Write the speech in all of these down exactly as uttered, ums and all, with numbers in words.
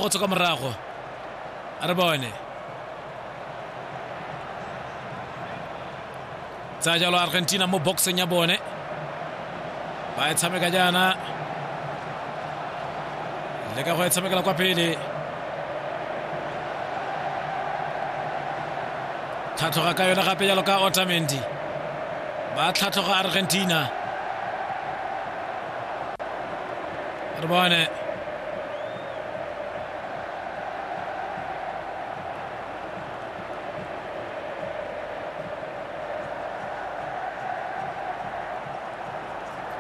go tswa kwa morago. A re bone. Tsaya jalo Argentina mo boxeng ya bone. Ba e tshameka jaana. Leka go e tshamekela kwa pele. Tlhatlhoga ka yone gape jalo ka Otamendi. Ba tlhatlhoga Argentina. Re bone.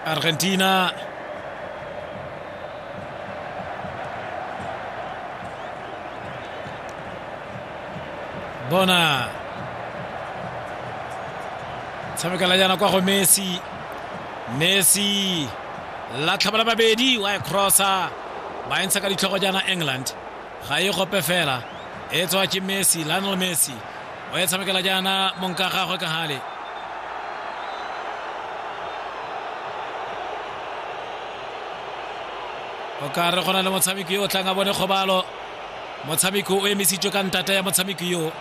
Argentina bona tshamekela jaana kwa go Messi. Messi la tlhabela babedi wa e crossa ba e ntsha ka ditlhogo jaana England ga e gope fela e tswa ke Messi, Lionel Messi o e tshamekela jaana monka gagwe ka gale. O ka re go na le motshameki yo o tlang a bone kgobalo. Motshameki o emisitswe ka ntata ya motshameki yo.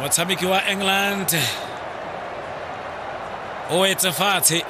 Motshameki wa England o etse fatshe.